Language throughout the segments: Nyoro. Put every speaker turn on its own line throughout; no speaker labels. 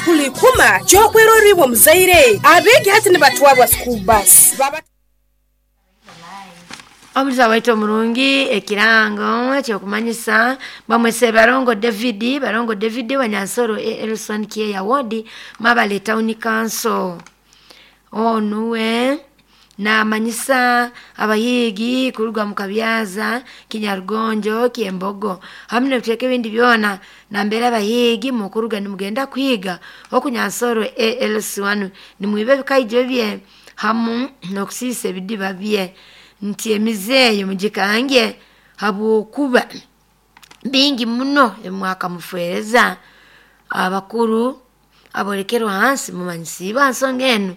School ikuma kyokwerorra iwe omuzaire. Abeegi hati nibatwarwa school bus. Baba
Omuliza waitu omurungi, ekirango ekyokumanyisa bamwese Barongo David, Barongo David wa Nyansoro Elson Kieya Ward, Mabale Town Council. Onuwe namanyisa abahiigi kuruga mu Kabyaza, Kinyarugonjo, Kyembogo hamu n'ebicweka ebindi byona nambere abahiigi mukuruga nimugenda kuhiga oku Nyansoro ALC1, nimwiba ebikaijo bye hamu n'okusiisa ebidiba bye, nti emize eyo mugikange habwokuba bingi muno ebimwakamufereza. Abakuru abolekerwa hansi mumanyisiibwe ha nsonga enu: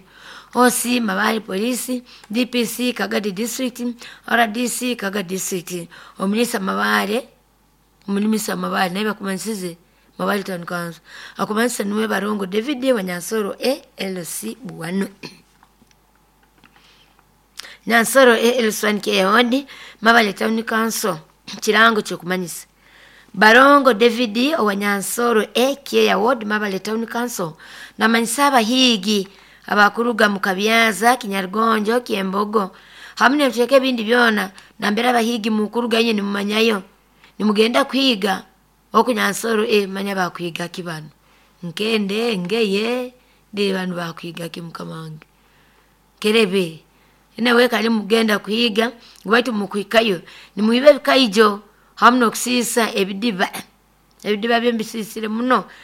OC Mabale Police, DPC Kagadi District, RDC Kagadi District, Omunisa Mabale, Omulimisa Mabale naye bakumanyisize Mabale Town Council. Akumanyisa nuwe Barongo David wa Nyansoro ALC 1, Nyansoro ALC1 Kehodi, Mabale Town Council. Kirango kyokumanyisa Barongo David owa Nyansoro A Kieya Ward, Mabale Town Council, namanyisa abahiigi abakuruga mu Kabyaza, Kinyarugonjo, Kyembogo hamu n'ebicweka ebindi byona nambere abahiigi mukuruga inye nimumanyayo nimugenda kuhiga oku Nyansoro e manya bakuhiga ki banu, nkende, ngeye ndi banu bakuhiga ki, mukama wange, kerebe nawe kali mugenda kuhiga ngu baitu mukuhikayo nimwiba ebikaijo hamu n'okusiisa ebidiba, ebidiba bye mbisiisire muno.